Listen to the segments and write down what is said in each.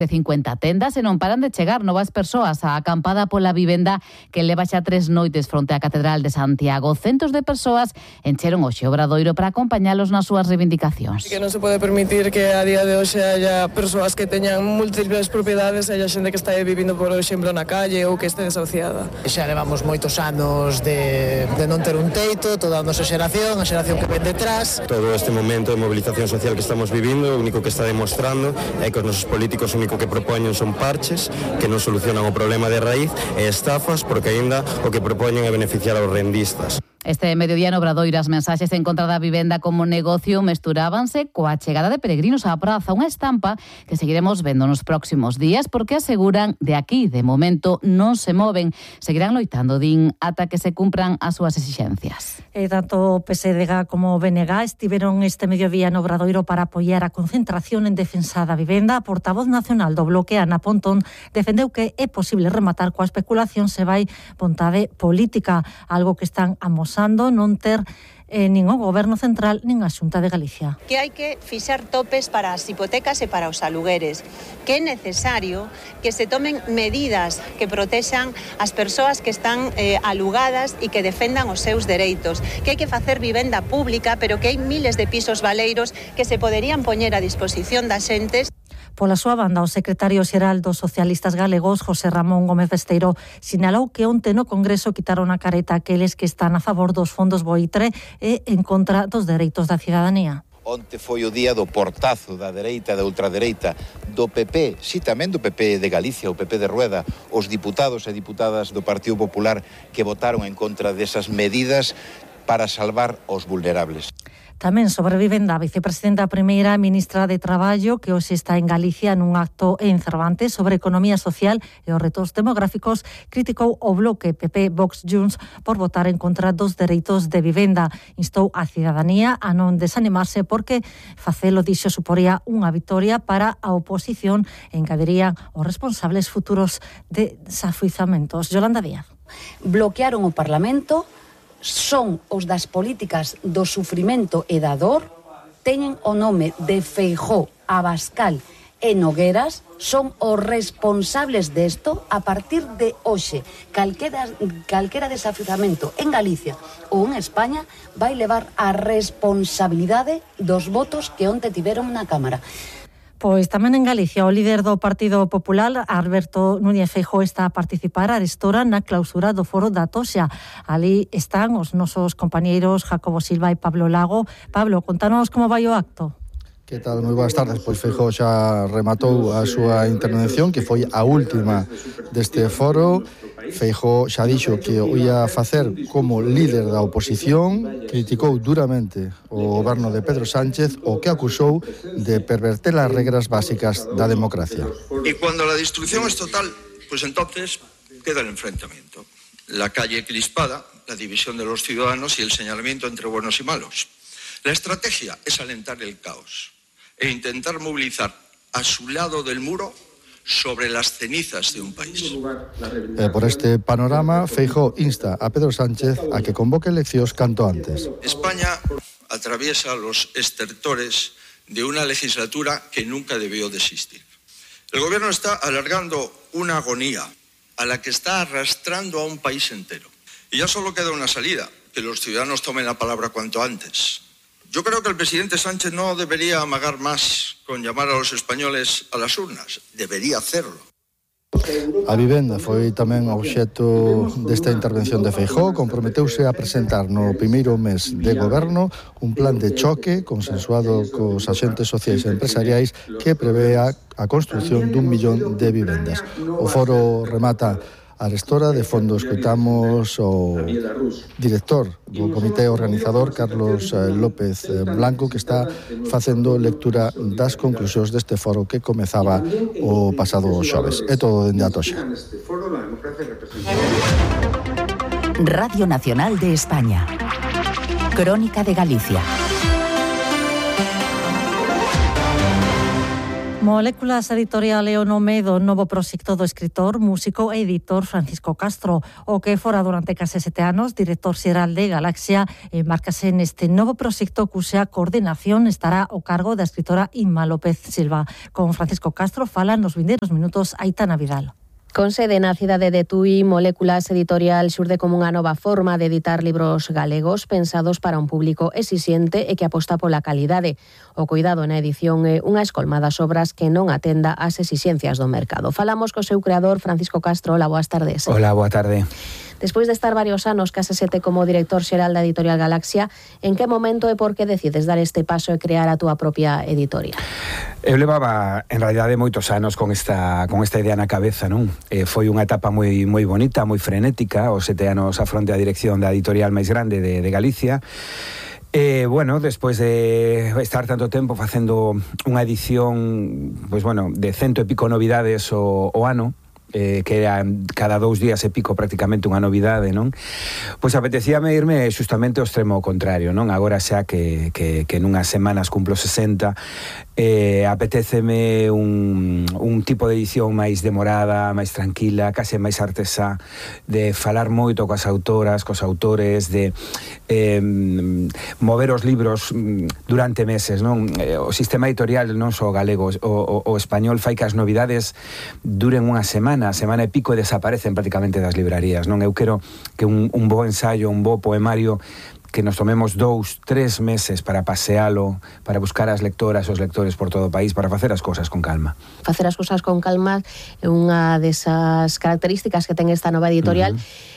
de 50 tendas e non paran de chegar novas persoas á acampada pola vivenda que leva xa 3 noites fronte á Catedral de Santiago. Centos de persoas encheron hoxe o Obradoiro para acompañalos nas súas reivindicacións. Que non se pode permitir que a día de hoxe haya persoas que teñan múltiples propiedades, haya xente que está vivindo, por exemplo, na calle ou que este desahuciada. Xa levamos moitos anos de non ter un teito, toda a nosa xeración, a xeración que ven detrás. Todo este momento de movilización social que estamos vivindo, o único que está demostrando é que os nosos políticos o que propoñen son parches que non solucionan o problema de raíz e estafas, porque aínda o que propoñen é beneficiar aos rendistas. Este mediodía no Obradoiro as mensaxes en contra da vivenda como negocio mesturábanse coa chegada de peregrinos á praza, unha estampa que seguiremos vendo nos próximos días porque aseguran de aquí, de momento, non se moven. Seguirán loitando, din, ata que se cumpran as súas exixencias. E tanto PSDG como BNG estiveron este mediodía no Obradoiro para apoiar a concentración en defensa da vivenda. A portavoz nacional do bloque, Ana Pontón, defendeu que é posible rematar coa especulación se vai vontade política, algo que están amosando non ter nin o Goberno Central nin a Xunta de Galicia. Que hai que fixar topes para as hipotecas e para os alugueres, que é necesario que se tomen medidas que protexan as persoas que están alugadas e que defendan os seus dereitos, que hai que facer vivenda pública, pero que hai miles de pisos baleiros que se poderían poñer a disposición das xentes. Pola súa banda, o secretario xeral dos socialistas galegos, José Ramón Gómez Besteiro, sinalou que onte no Congreso quitaron a careta aqueles que están a favor dos fondos Boitre e en contra dos dereitos da cidadanía. Onte foi o día do portazo da dereita, da ultradereita, do PP, si tamén do PP de Galicia, o PP de Rueda, os diputados e diputadas do Partido Popular que votaron en contra desas medidas para salvar os vulnerables. Tamén sobre vivenda, a vicepresidenta primeira ministra de Traballo, que hoxe está en Galicia nun acto en Cervantes sobre economía social e os retos demográficos, criticou o bloque PP Vox Junts por votar en contra dos dereitos de vivenda. Instou a cidadanía a non desanimarse porque facelo, dixo, suporía unha vitoria para a oposición e engaderían os responsables futuros de desafuizamentos. Yolanda Díaz. Bloquearon o Parlamento, son os das políticas do sufrimento e da dor, teñen o nome de Feijóo, Abascal e Nogueras, son os responsables desto. A partir de hoxe, calquera desafiuzamento en Galicia ou en España vai levar a responsabilidade dos votos que onte tiveron na Cámara. Pois tamén en Galicia, o líder do Partido Popular, Alberto Núñez Feijóo, está a participar arestora na clausura do foro da Toxa. Ali están os nosos compañeiros Jacobo Silva e Pablo Lago. Pablo, contanos como vai o acto. Que tal? Moi boas tardes. Pois Feijóo xa rematou a súa intervención, que foi a última deste foro. Feijóo xa dixo que o ia facer como líder da oposición, criticou duramente o goberno de Pedro Sánchez, o que acusou de perverter as regras básicas da democracia. Y cuando la destrucción es total, pues entonces queda el enfrentamiento. La calle crispada, la división de los ciudadanos y el señalamiento entre buenos y malos. La estrategia es alentar el caos e intentar movilizar a su lado del muro sobre las cenizas de un país. Por este panorama, Feijóo insta a Pedro Sánchez a que convoque eleccións canto antes. España atraviesa los estertores de una legislatura que nunca debió de existir. El gobierno está alargando una agonía a la que está arrastrando a un país entero. Y ya solo queda una salida, que los ciudadanos tomen la palabra cuanto antes. Yo creo que el presidente Sánchez no debería amagar más con llamar a los españoles a las urnas. Debería hacerlo. A vivenda foi tamén obxecto desta intervención de Feijóo. Comprometeuse a presentar no primeiro mes de goberno un plan de choque consensuado cos axentes sociais e empresariais que prevea a construción d'1 millón de vivendas. O foro remata arestora. De fondo escoitamos o director do comité organizador, Carlos López Blanco, que está facendo lectura das conclusións deste foro que comezaba o pasado xoves. É todo dende a Toxa. Radio Nacional de España. Crónica de Galicia. Moléculas Editorial é o nome do novo proxecto do escritor, músico e editor Francisco Castro, o que fora durante case 7 anos director xeral de Galaxia, embarcase neste novo proxecto cuxa coordinación estará ao cargo da escritora Inma López Silva. Con Francisco Castro falan nos vindeiros minutos Aitana Vidal. Con sede na cidade de Tui, Moléculas Editorial xurde como unha nova forma de editar libros galegos pensados para un público exixente e que aposta pola calidade. O cuidado na edición é unha escolma das obras que non atenda ás exixencias do mercado. Falamos co seu creador, Francisco Castro. Hola, boas tardes. Hola, boa tarde. Despois de estar varios anos, case 7 como director xeral da Editorial Galaxia, en que momento e por que decides dar este paso e crear a túa propia editorial? Eu levaba, en realidade, moitos anos con esta idea na cabeza, non? Foi unha etapa moi bonita, moi frenética, os 7 anos a fronte a dirección da editorial máis grande de Galicia. Bueno, despois de estar tanto tempo facendo unha edición, pois bueno, de 100 e pico novidades o ano, que era cada 2 días e pico prácticamente unha novidade, non? Pois apetecíame irme justamente ao extremo contrario, non? Agora xa que nunhas semanas cumplo 60, apeteceme un tipo de edición máis demorada, máis tranquila, case máis artesá, de falar moito coas autoras, cos autores, de mover os libros durante meses, non? O sistema editorial non só galego, o español fai que as novidades duren unha semana e pico e desaparecen prácticamente das librarías, non? Eu quero que un bo ensaio, un bo poemario, que nos tomemos 2-3 meses para pasealo, para buscar as lectoras, os lectores por todo o país, para facer as cousas con calma. Facer as cousas con calma é unha desas características que ten esta nova editorial.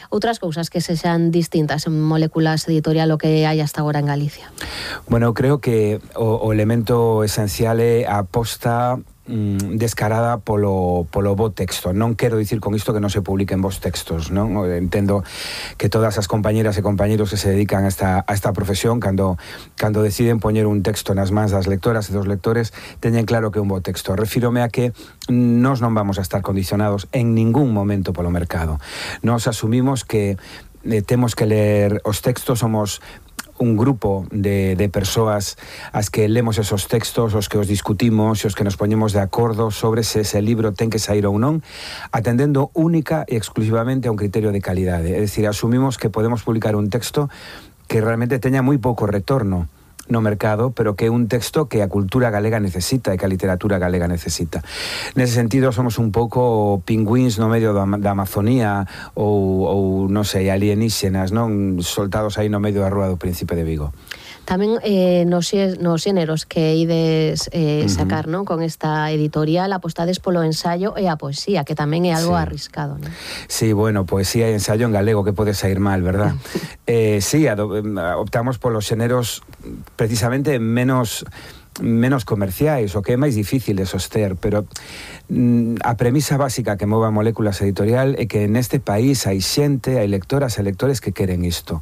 Outras cousas que sexan distintas en Moléculas Editorial o que hai hasta agora en Galicia. Bueno, creo que o elemento esencial é a aposta descarada polo bo texto. Non quero dicir con isto que non se publiquen bons textos, non? Entendo que todas as compañeras e compañeros que se dedican a esta profesión, cando deciden poñer un texto nas mans das lectoras e dos lectores, teñen claro que é un bo texto. Refírome a que nós non vamos a estar condicionados en ningún momento polo mercado. Nós asumimos que temos que ler os textos, somos un grupo de persoas as que lemos esos textos, os que os discutimos e os que nos poñemos de acordo sobre se ese libro ten que sair ou non, atendendo única e exclusivamente a un criterio de calidade. É dicir, asumimos que podemos publicar un texto que realmente teña moi pouco retorno no mercado, pero que é un texto que a cultura galega necesita e que a literatura galega necesita. Nese sentido, somos un pouco pingüíns no medio da Amazonía ou non sei, alienígenas, non? Soltados aí no medio da rúa do Príncipe de Vigo. Tamén nos xéneros que ides sacar, non? Con esta editorial apostades polo ensaio e a poesía, que tamén é algo arriscado, non? Sí, bueno, poesía e ensaio en galego, que pode sair mal, verdad? Sí, optamos polos xéneros precisamente menos comerciais, o que é máis difícil de soster, pero a premisa básica que move a Moléculas Editorial é que neste país hai xente, hai lectoras e lectores que queren isto.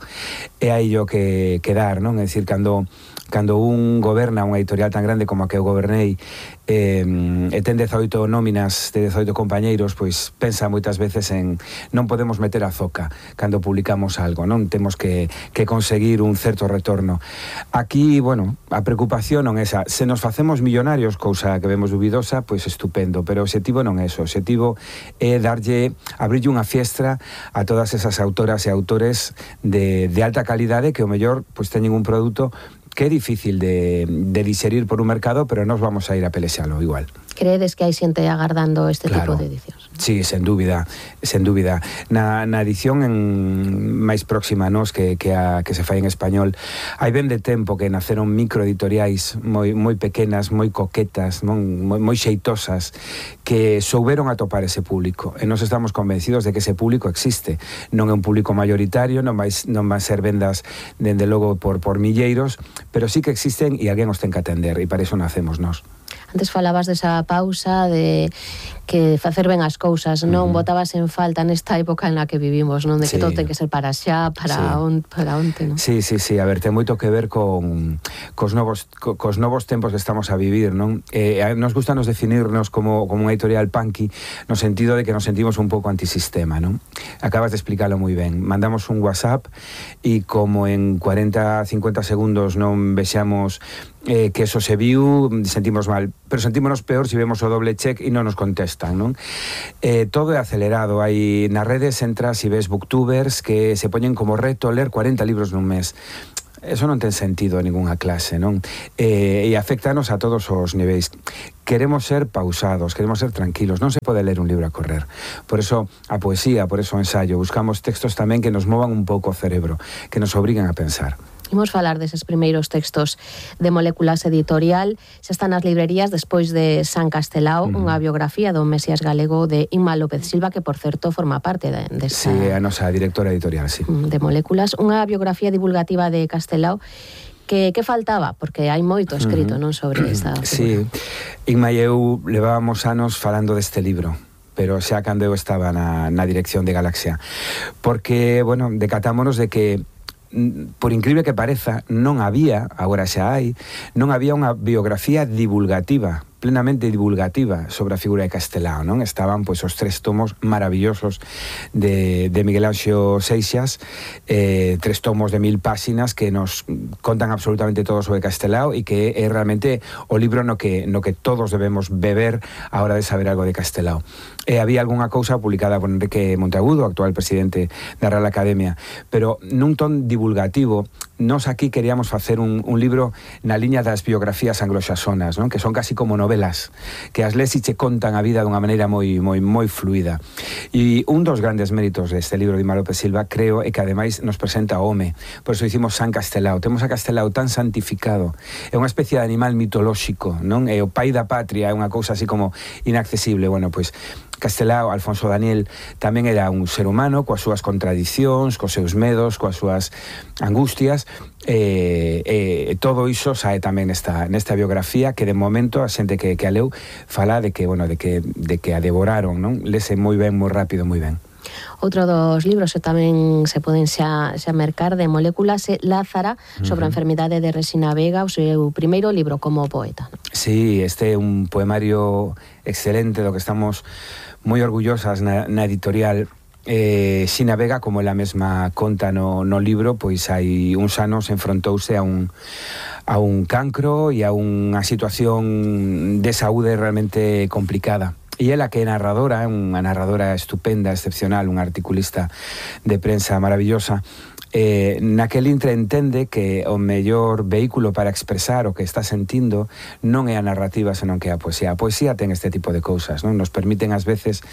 E hai o que dar, non? É dicir, cando un goberna unha editorial tan grande como a que eu gobernei e ten 18 nóminas de 18 compañeiros, pois pensa moitas veces en non podemos meter a zoca cando publicamos algo, non? Temos que conseguir un certo retorno. Aquí, bueno, a preocupación non é esa. Se nos facemos millonarios, cousa que vemos dubidosa, pois estupendo, pero o objetivo non é eso. O objetivo é abrirlle unha fiestra a todas esas autoras e autores de alta calidade que o mellor pois teñen un produto que é difícil de digerir por un mercado, pero nos vamos a ir a pelexalo igual. Creedes que hai xente agardando este tipo de edicións? Sí, sen dúbida. Na edición máis próxima, nos, que se fai en español, hai ben de tempo que naceron microeditoriais moi pequenas, moi coquetas, moi xeitosas, que souberon atopar ese público. E nos estamos convencidos de que ese público existe. Non é un público mayoritario, non vai ser vendas, dende logo, por milleiros, pero sí que existen e alguén os ten que atender, e para iso nacemos nós. Antes falabas desa pausa, de que facer ben as cousas non botabas en falta nesta época en la que vivimos, non? De que todo ten que ser para xa, para onte, non? Sí, a ver, ten moito que ver cos novos tempos que estamos a vivir, non? Nos gusta nos definirnos como unha editorial punky no sentido de que nos sentimos un pouco antisistema, non? Acabas de explicarlo moi ben. Mandamos un WhatsApp e como en 40-50 segundos non vexamos que eso se viu, sentimos mal, pero sentímonos peor se vemos o doble check e non nos contestan, non? Todo é acelerado, hai nas redes entras e ves booktubers que se poñen como reto ler 40 libros nun mes. Eso non ten sentido en ninguna clase, non? E afectanos a todos os niveis. Queremos ser pausados, queremos ser tranquilos, non se pode ler un libro a correr. Por eso a poesía, por eso o ensayo, buscamos textos tamén que nos movan un pouco o cerebro, que nos obriguen a pensar. Imos falar deses primeiros textos de Moléculas Editorial. Xa están nas librerías despois de San Castelao, unha biografía do Mesías galego de Inma López Silva, que, por certo, forma parte desta... Sí, a nosa directora editorial, sí. De Moléculas. Unha biografía divulgativa de Castelao que faltaba, porque hai moito escrito, non, sobre esta figura. Sí, Inma e eu levábamos anos falando deste libro, pero xa cando eu estaba na dirección de Galaxia. Porque, bueno, decatámonos de que por incrível que pareza, non había, agora xa hai, non había unha biografía divulgativa, plenamente divulgativa sobre a figura de Castelao, non? Estaban pois os 3 tomos maravillosos de Miguel Anxo Seixas, 3 tomos de 1000 páxinas que nos contan absolutamente todo sobre Castelao e que é realmente o libro no que todos debemos beber a hora de saber algo de Castelao. Había algunha cousa publicada por Enrique Monteagudo, actual presidente da Real Academia, pero nun ton divulgativo. Nos aquí queríamos facer un libro na liña das biografías anglosaxonas, non? Que son casi como novelas, que as les e che contan a vida dunha maneira moi fluida. E un dos grandes méritos deste libro de Inma López Silva, creo, é que ademais nos presenta o home. Por eso dicimos San Castelao. Temos a Castelao tan santificado. É unha especie de animal mitolóxico, non? É o pai da patria, é unha cousa así como inaccesible. Bueno, pois Castelao, Alfonso Daniel, tamén era un ser humano coas súas contradicións, cos seus medos, coas súas angustias, todo iso sae tamén nesta biografía que de momento a xente que a leu fala de que a devoraron, non? Lese moi ben, moi rápido, moi ben. Outro dos libros que tamén se poden xa mercar de Moléculas é Lázara, sobre a enfermidade de Resina Vega, o seu primeiro libro como poeta. Sí, este é un poemario excelente do que estamos moi orgullosas na editorial. Xina Vega, como ela mesma conta no libro, pois hai uns anos enfrontouse a un cancro e a unha situación de saúde realmente complicada. E ela, que é narradora, unha narradora estupenda, excepcional, unha articulista de prensa maravillosa, naquel intre entende que o mellor vehículo para expresar o que está sentindo non é a narrativa, senón que é a poesía. A poesía ten este tipo de cousas, non? Nos permiten ás veces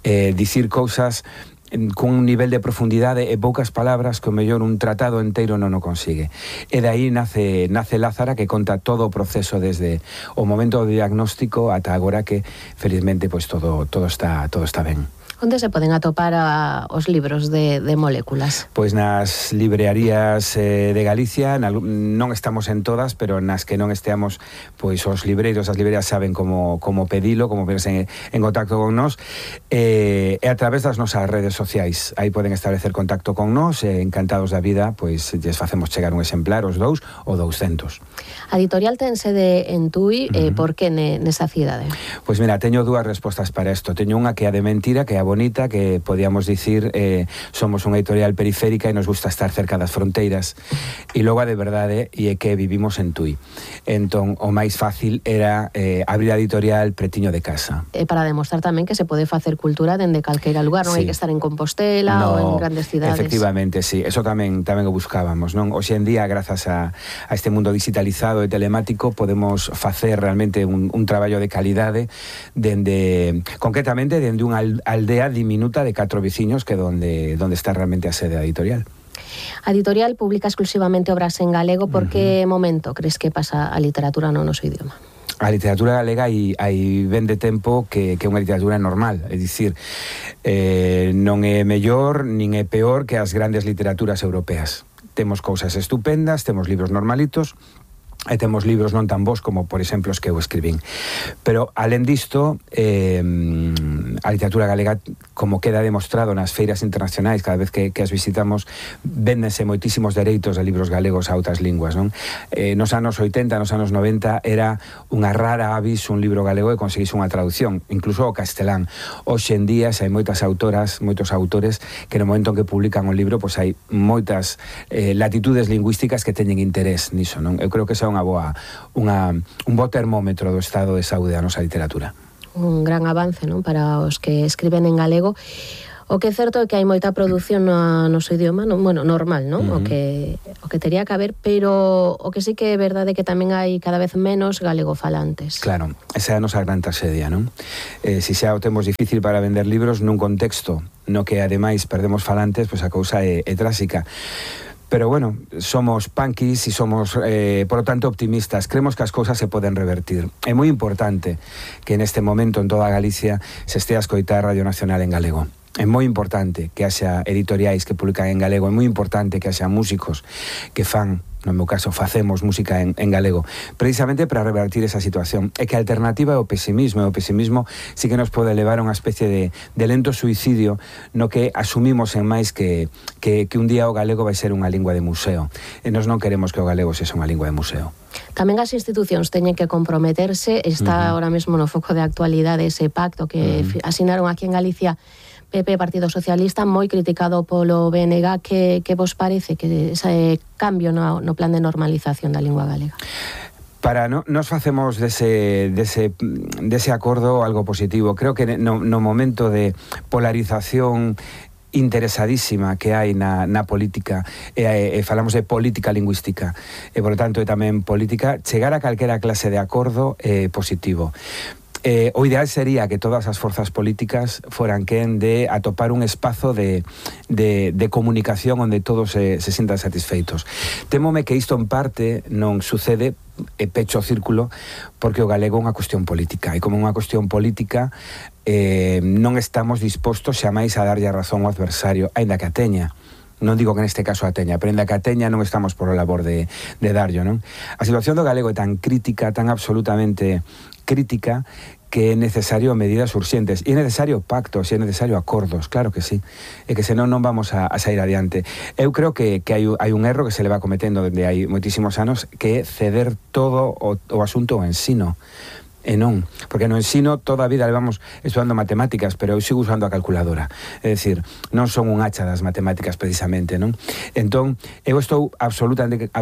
dicir cousas con un nivel de profundidade e poucas palabras que o mellor un tratado enteiro non o consigue. E de aí nace Lázara, que conta todo o proceso desde o momento do diagnóstico ata agora, que felizmente pois todo está ben. Onde se poden atopar os libros de Moléculas? Pois nas librerías de Galicia, non estamos en todas, pero nas que non esteamos, pois os libreiros, as librerías saben como pedilo, como ponerse en contacto con nós, e a través das nosas redes sociais. Aí poden establecer contacto con nós, encantados da vida, pois lles facemos chegar un exemplar, os 2 ou 200. A editorial ten sede en Tui, por que nesa cidade? Pois mira, teño 2 respostas para isto. Teño unha que é a de mentira, que é a bonita, que podíamos dicir somos unha editorial periférica e nos gusta estar cerca das fronteiras, e logo a de verdade e é que vivimos en Tui. Entón, o máis fácil era abrir a editorial pretiño de casa. Para demostrar tamén que se pode facer cultura dende calquera lugar, non hai que estar en Compostela ou en grandes cidades. Efectivamente, sí, eso tamén o buscábamos, non? Hoxe en día, grazas a este mundo digitalizado e telemático, podemos facer realmente un traballo de calidade concretamente dende unha aldea diminuta de 4 veciños, que donde está realmente a sede da editorial. A editorial publica exclusivamente obras en galego. Por que momento crees que pasa a literatura no noso idioma? A literatura galega hai ben de tempo que é unha literatura normal, é dicir, non é mellor nin é peor que as grandes literaturas europeas. Temos cousas estupendas, temos libros normalitos, e temos libros non tan bons como, por exemplo, os que eu escribín. Pero, alén disto, a literatura galega, como queda demostrado nas feiras internacionais, cada vez que as visitamos, véndense moitísimos dereitos de libros galegos a outras linguas, non? Nos anos 80, nos anos 90, era unha rara avis un libro galego e conseguise unha traducción, incluso ao castelán. Hoxe en día, hai moitas autoras, moitos autores, que no momento en que publican un libro, pois hai moitas latitudes lingüísticas que teñen interés niso, non? Eu creo que esa é un bo termómetro do estado de saúde da nosa literatura. Un gran avance, non, para os que escriben en galego. O que é certo é que hai moita produción no noso idioma, non? Bueno, normal, non? O que tería que haber, pero o que sí que é verdade é que tamén hai cada vez menos galegofalantes. Claro, esa é a nosa gran traxedia, non? Se xa o temos difícil para vender libros nun contexto no que ademais perdemos falantes, pois a cousa é tráxica. Pero bueno, somos punkis e somos, por lo tanto, optimistas. Creemos que as cousas se poden revertir. É moi importante que neste momento en toda Galicia se estea a escoitar Radio Nacional en galego. É moi importante que haxa editoriais que publican en galego. É moi importante que haxa músicos que fan, no meu caso, facemos música en galego, precisamente para revertir esa situación. É que a alternativa é o pesimismo, e o pesimismo sí que nos pode levar a unha especie de lento suicidio no que asumimos en máis que un día o galego vai ser unha lingua de museo. E nós non queremos que o galego sexa unha lingua de museo. Tamén as institucións teñen que comprometerse. Está ahora mesmo no foco de actualidade ese pacto que asinaron aquí en Galicia PP, Partido Socialista, moi criticado polo BNG. Que vos parece que ese cambio no plan de normalización da lingua galega? Para nos facemos dese acordo algo positivo. Creo que no momento de polarización interesadísima que hai na política, falamos de política lingüística, e por tanto tamén política, chegar a calquera clase de acordo positivo. O ideal sería que todas as forzas políticas foran quen de atopar un espazo de comunicación onde todos se sintan satisfeitos. Témome que isto en parte non sucede, pecho o círculo, porque o galego é unha cuestión política, e como unha cuestión política non estamos dispostos xamais a darlle a razón ao adversario, aínda que a teña. Non digo que neste caso a teña, pero aínda que a teña non estamos por a labor de darllo, non? A situación do galego é tan crítica, tan absolutamente crítica, que é necesario medidas urxentes, e é necesario pactos, e é necesario acordos, claro que sí, e que senón non vamos a sair adiante. Eu creo que hai un erro que se le va cometendo dende hai moitísimos anos, que é ceder todo o asunto ao ensino. E non, porque no ensino toda a vida levamos estudando matemáticas, pero eu sigo usando a calculadora. É dicir, non son un hacha das matemáticas precisamente, non? Entón, eu estou absolutamente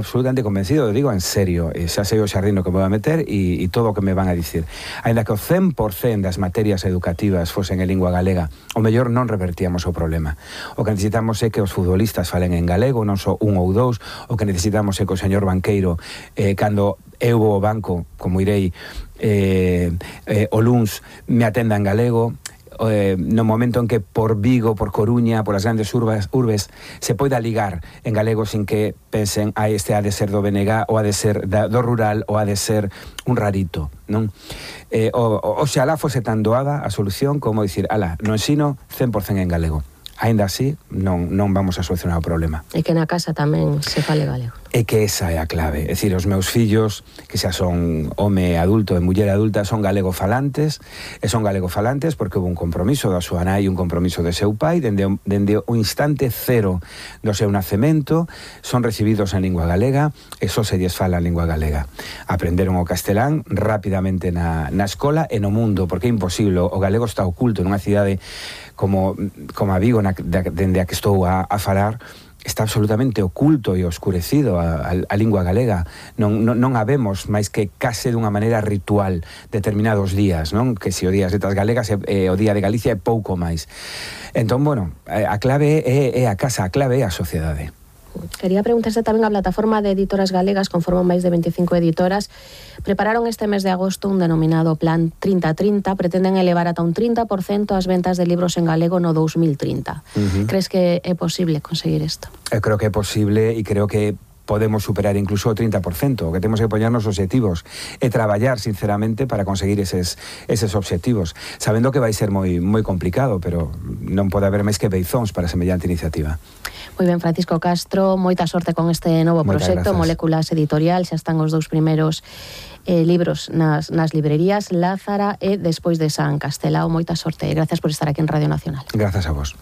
convencido, digo en serio, xa sei o xardino que me vou a meter e todo o que me van a dicir. Ainda que o 100% das materias educativas fosen en lingua galega, o mellor non revertíamos o problema. O que necesitamos é que os futbolistas falen en galego, non só un ou dous. O que necesitamos é que o señor banqueiro, cando eu vou ao banco, como irei o luns, me atenda en galego. No momento en que por Vigo, por Coruña, por as grandes urbes se poida ligar en galego sin que pensen este ha de ser do BNG, ou ha de ser do rural, ou ha de ser un rarito, non? Oxalá fose tan doada a solución como dicir, no ensino 100% en galego. Aínda así, non vamos a solucionar o problema. E que na casa tamén se fale galego. É que esa é a clave. É dicir, os meus fillos, que xa son home adulto e muller adulta, son galegofalantes, e son galegofalantes porque houve un compromiso da súa nai e un compromiso de seu pai, dende o instante cero do seu nacemento, son recibidos en lingua galega, e só se lles fala en lingua galega. Aprenderon o castelán rapidamente na escola e no mundo, porque é imposible, o galego está oculto nunha cidade como a Vigo, dende a que estou a falar, está absolutamente oculto e oscurecido a lingua galega. Non a vemos máis que case dunha maneira ritual determinados días, non? Que se o día das letras galegas o día de Galicia é pouco máis. Entón, bueno, a clave é a casa, a clave é a sociedade. Quería preguntarse tamén a plataforma de editoras galegas, conforman máis de 25 editoras, prepararon este mes de agosto un denominado Plan 30-30, pretenden elevar ata un 30% as ventas de libros en galego no 2030. Crees que é posible conseguir isto? Eu creo que é posible e creo que podemos superar incluso o 30%, que temos que poñernos obxectivos e traballar sinceramente para conseguir eses obxectivos, sabendo que vai ser moi complicado, pero non pode haber máis que beizóns para semellante iniciativa. Moi ben, Francisco Castro, moita sorte con este novo proxecto, Moléculas Editorial, xa están os 2 primeiros libros nas librerías, Lázara e Despois de San Castelao. Moita sorte e gracias por estar aquí en Radio Nacional. Gracias a vos.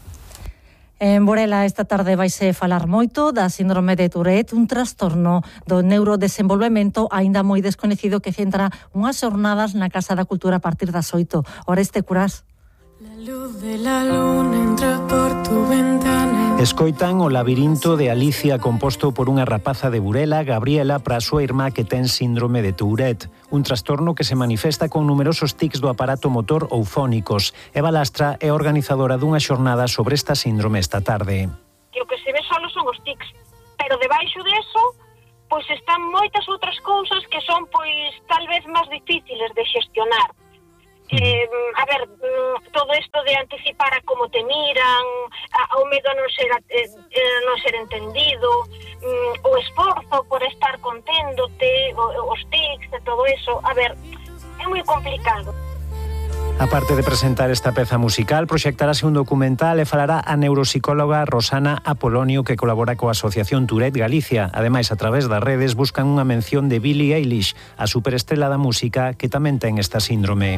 En Burela esta tarde vaise falar moito da síndrome de Tourette, un trastorno do neurodesenvolvemento aínda moi descoñecido que centra unhas xornadas na Casa da Cultura a partir das 8. Oreste Curás. La luz de la luna entra por tu ventana. Escoitan o labirinto de Alicia composto por unha rapaza de Burela, Gabriela, para a súa irmá que ten síndrome de Tourette, un trastorno que se manifesta con numerosos tics do aparato motor ou fónicos. Eva Lastra é organizadora dunha xornada sobre esta síndrome esta tarde. Que o que se ve solo son os tics, pero debaixo deso, pois están moitas outras cousas que son pois tal vez máis difíciles de xestionar. Todo isto de anticipar a como te miran, ao medo a non ser entendido, o esforzo por estar conténdote, os tics e todo eso, é moi complicado. A parte de presentar esta peza musical, proxectarase un documental e falará a neuropsicóloga Rosana Apolonio, que colabora coa Asociación Tourette Galicia. Ademais, a través das redes buscan unha mención de Billie Eilish, a superestrela da música que tamén ten esta síndrome.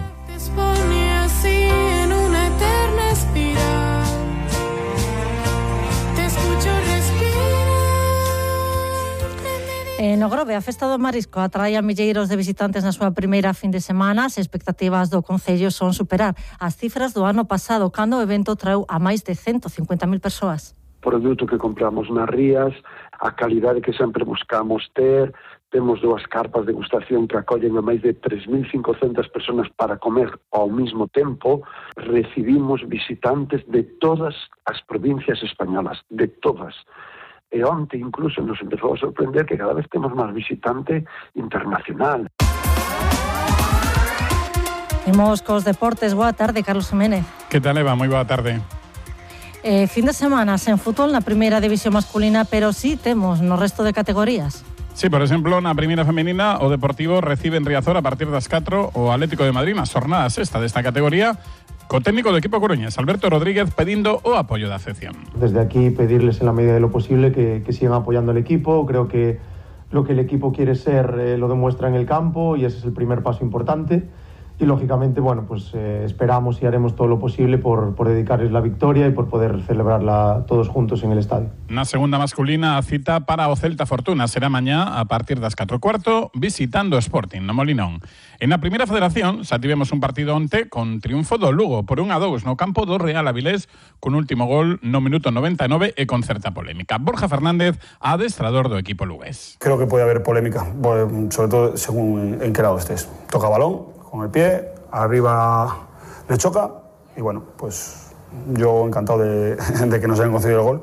No Grove, a Festa do Marisco atrae a milleiros de visitantes na súa primeira fin de semana. As expectativas do Concello son superar as cifras do ano pasado, cando o evento traeu a máis de 150.000 persoas. Produto que compramos nas rías, a calidade que sempre buscamos ter, temos 2 carpas de degustación que acollen a máis de 3.500 personas para comer ao mesmo tempo. Recibimos visitantes de todas as provincias españolas, de todas. E onte incluso nos empezou a sorprender que cada vez temos máis visitante internacional. Imos cos deportes. Boa tarde, Carlos Jiménez. Que tal, Eva? Moi boa tarde. Fin de semana sen fútbol na primeira división masculina, pero sí temos no resto de categorías. Sí, por exemplo, na primeira femenina o Deportivo recibe en Riazor a partir das 4 o Atlético de Madrid na xornada sexta desta categoría, co técnico do equipo coruñés, Alberto Rodríguez, pedindo o apoio da afección. Desde aquí pedirles en la medida de lo posible que sigan apoyando al equipo. Creo que lo que el equipo quiere ser lo demuestra en el campo y ese es el primer paso importante. Y lógicamente, bueno, pues esperamos y haremos todo lo posible por dedicarles la victoria y por poder celebrarla todos juntos en el estadio. Na segunda masculina, a cita para o Celta Fortuna será mañá a partir das 4:15, visitando o Sporting no Molinón. En a primeira federación, xa tivemos un partido onte con triunfo do Lugo por 1-2 no campo do Real Avilés, con último gol no minuto 99 e con certa polémica. Borja Fernández, adestrador do equipo lugués. Creo que puede haber polémica, sobre todo según en qué lado estés. Toca balón con el pie, arriba le choca y bueno, pues yo encantado de que nos hayan concedido el gol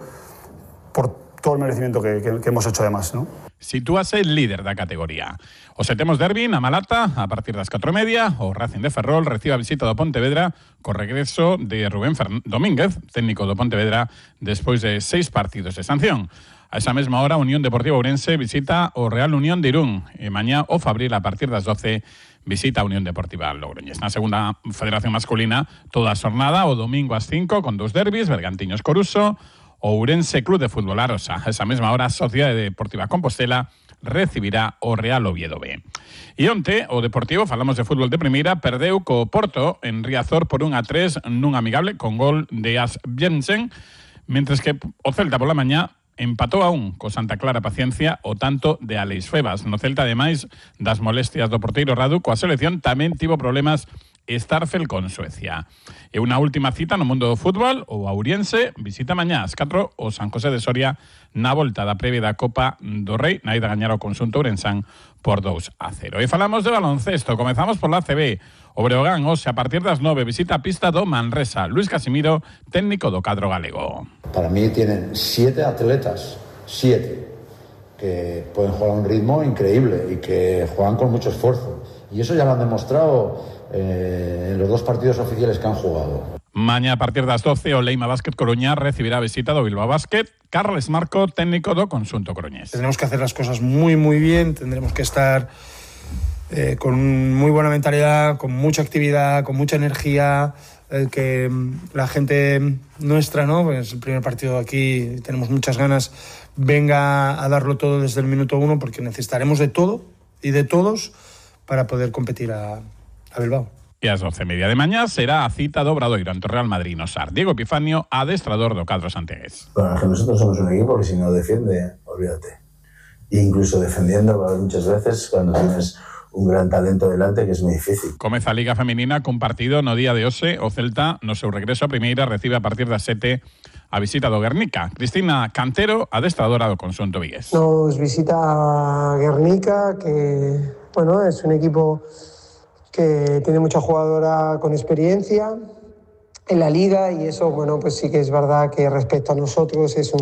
por todo el merecimiento que hemos hecho además, ¿no? Sitúase líder da categoría. O setemos derbi na Malata a partir das 4:30, o Racing de Ferrol recibe a visita do Pontevedra co regreso de Rubén Domínguez, técnico do Pontevedra, despois de 6 partidos de sanción. A esa mesma hora, Unión Deportiva Ourense visita o Real Unión de Irún e mañá o Fabril a partir das 12 visita a Unión Deportiva Logroñés. Na segunda federación masculina, toda a xornada, o domingo ás 5 con 2 derbis, Bergantiños Coruso, o Ourense Club de Fútbol Arosa. A esa mesma hora, a Sociedade Deportiva Compostela recibirá o Real Oviedo B. E onte, o Deportivo, falamos de fútbol de primeira, perdeu co Porto en Riazor por 1-3 nun amigable con gol de As Jensen, mentres que o Celta pola mañá empatou a 1 co Santa Clara Paciencia o tanto de Alex Febas. No Celta, ademais das molestias do porteiro Radu, coa selección tamén tivo problemas Starfel con Suecia. E unha última cita no mundo do fútbol, o Auriense visita mañá ás 4 o San José de Soria na volta da previa da Copa do Rei, na ida a gañar o conxunto ourensán por 2-0. E falamos de baloncesto, comezamos por la ACB. O Breogán, hoxe, a partir das 9, visita a pista do Manresa. Luis Casimiro, técnico do cadro galego. Para mí tienen 7 atletas, 7, que pueden jugar a un ritmo increíble y que juegan con mucho esfuerzo. Y eso ya lo han demostrado en los 2 partidos oficiales que han jugado. Mañá a partir das 12 o Leima Basket Coruña recibirá a visita do Bilbao Basket. Carles Marco, técnico do conxunto coruñés. Tendremos que hacer las cosas muy bien, tendremos que estar con muy buena mentalidad, con mucha actividad, con mucha energía, que la gente nuestra, ¿no? Es el primer partido aquí, tenemos muchas ganas, venga a darlo todo desde el minuto 1, porque necesitaremos de todo y de todos para poder competir a Bilbao. E ás 12:30 de mañá será a cita do Obradoiro ante o Real Madrid no Sar. Diego Epifanio, adestrador do cadro santiagués. Bueno, que nosotros somos un equipo que si no defiende, olvídate. E incluso defendiendo, va a haber muchas veces cuando tienes un gran talento delante que es muy difícil. Comeza a Liga Feminina con partido no día de hoxe. O Celta, no seu regreso a primeira, recibe a partir das 7 a visita do Guernica. Cristina Cantero, adestradora do conxunto vigués. Nos visita Guernica, que bueno, es un equipo que tiene mucha jugadora con experiencia en la liga, y eso, bueno, pues sí que es verdad que respecto a nosotros es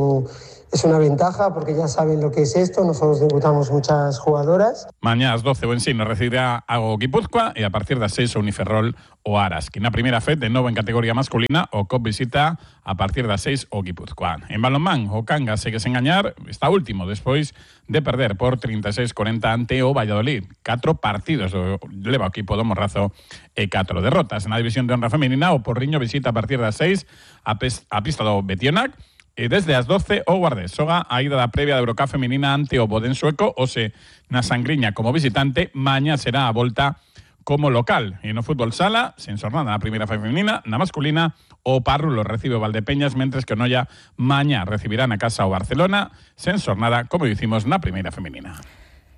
una ventaja, porque ya saben lo que es esto. Nosotros debutamos muchas jugadoras. Mañá ás 12 o Ensino recibirá a Guipúzcoa e a partir das 6 o Uniferrol o Aras. Que na primeira fe, de novo en categoría masculina, o COP visita a partir das 6 o Guipúzcoa. En balonmán, o Cangas segue sen gañar, está último despois de perder por 36-40 ante o Valladolid. 4 partidos leva o equipo do Morrazo e 4 derrotas. Na división de honra femenina, o Porriño visita a partir das 6 a pista do Betionac. E desde as 12 o Guardés xoga a ida da previa da Eurocup feminina ante o Boden sueco, ose na Sangriña como visitante. Mañá será a volta como local. E no fútbol sala, sen xornada na primeira feminina, na masculina, o Parrulo recibe o Valdepeñas, mentres que o Noia mañá recibirá na casa o Barcelona, sen xornada, como dicimos, na primeira feminina.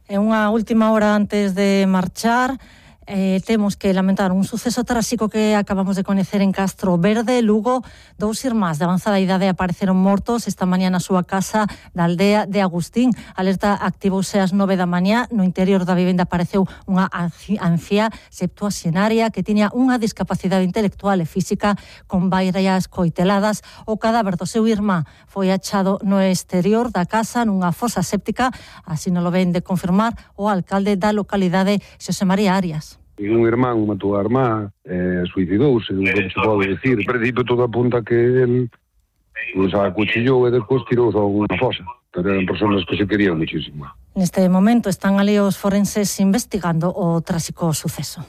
En unha última hora antes de marchar, temos que lamentar un suceso tráxico que acabamos de coñecer en Castro Verde, Lugo. 2 irmáns de avanzada idade apareceron mortos esta mañá na súa casa da aldea de Agustín. A alerta activouse ás 9 da mañá. No interior da vivenda apareceu unha anciá septuaxenaria que tiña unha discapacidade intelectual e física con varias coiteladas. O cadáver do seu irmá foi achado no exterior da casa nunha fosa séptica, así non lo ven de confirmar o alcalde da localidade, Xosé María Arias. Un irmán matou a irmá, suicidouse, non se pode dicir. En principio todo apunta que el acuchillou e despois tirou a unha fosa. Pero eran persoas que se querían muchísimo. Neste momento están ali os forenses investigando o tráxico suceso.